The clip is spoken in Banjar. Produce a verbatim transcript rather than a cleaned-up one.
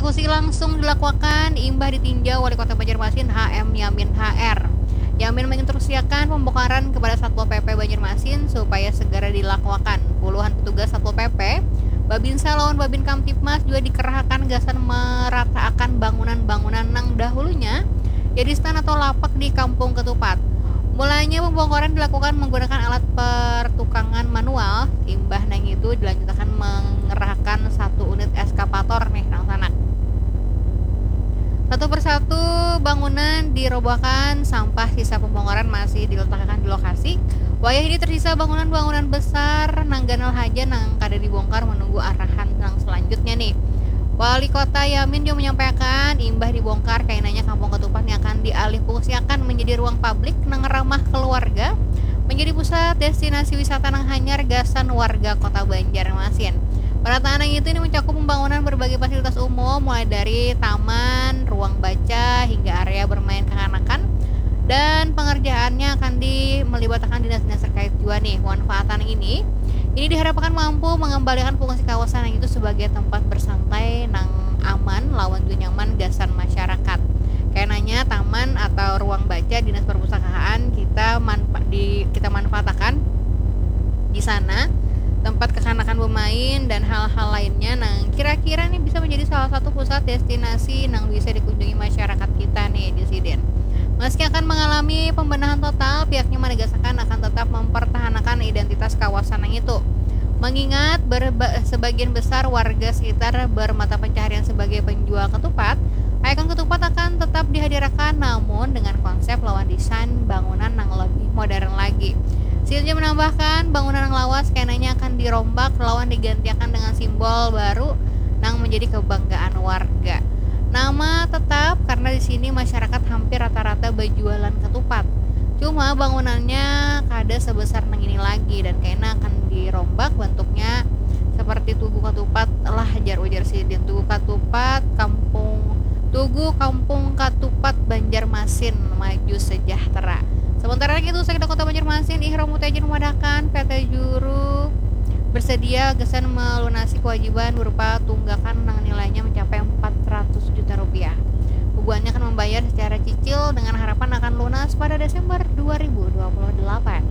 Eksekusi langsung dilakuakan imbah ditinjau Wali Kota Banjarmasin H M Yamin H R. Yamin menginstruksiakan pembongkaran kepada Satpol P P Banjarmasin supaya segera dilakuakan. Puluhan petugas Satpol P P, Babinsa lawan Babin Kamtibmas juga dikerahakan gasan merataakan bangunan-bangunan nang dahulunya jadi stand atau lapak di Kampung Ketupat. Mulanya pembongkaran dilakukan menggunakan alat pertukangan manual, imbah nang itu dilanjutakan mengerahkan satu unit eskavator nih nang sanak. Satu persatu bangunan dirobohkan, sampah sisa pembongkaran masih diletakkan di lokasi. Wayah ini tersisa bangunan-bangunan besar nang ganal haja nang kada dibongkar menunggu arahan nang selanjutnya nih. Wali Kota Yamin juga menyampaikan imbah dibongkar kainanya Kampung Ketupat yang akan dialih fungsiakan menjadi ruang publik nang ramah keluarga, menjadi pusat destinasi wisata nang hanyar gasan warga Kota Banjarmasin. Penataan yang itu ini mencakup pembangunan berbagai fasilitas umum mulai dari taman, ruang baca hingga area bermain kekanakan, dan pengerjaannya akan di melibatkan dinas-dinas terkait juga nih. Manfaatan ini ini diharapkan mampu mengembalikan fungsi kawasan yang itu sebagai tempat bersantai nang aman lawan juga nyaman gasan masyarakat. Kainanya taman atau ruang baca dinas perpustakaan kita manfa di kita manfaatakan di sana tempat kekanakan bermain dan hal-hal lainnya nang kira-kira nih bisa menjadi salah satu pusat destinasi nang bisa dikunjungi masyarakat kita nih di sidin. Meski akan mengalami pembenahan total, pihaknya menegaskan akan tetap mempertahankan identitas kawasan yang itu. Mengingat berba- sebagian besar warga sekitar bermata pencaharian sebagai penjual ketupat, ikon ketupat akan tetap dihadirkan namun dengan konsep lawan desain bangunan yang lebih modern lagi. Sidin menambahkan bangunan yang lawas kainanya akan dirombak lawan digantikan dengan simbol baru nang menjadi kebanggaan warga. Nama tetap karena di sini masyarakat hampir rata-rata berjualan ketupat. Cuma bangunannya kada sebesar nang ini lagi dan kaina akan dirombak bentuknya seperti Tugu Katupat lah, jar ujar sidin. Tugu Katupat Kampung Tugu Kampung Katupat Banjarmasin maju sejahtera. Sementara itu, Sekda Kota Banjarmasin Ihrom Mutaijin memadahkan P T Juru bersedia gasan melunasi kewajiban berupa tunggakan nang nilainya mencapai empat ratus juta rupiah. Bubuhannya akan membayar secara cicil dengan harapan akan lunas pada Desember dua ribu dua puluh delapan.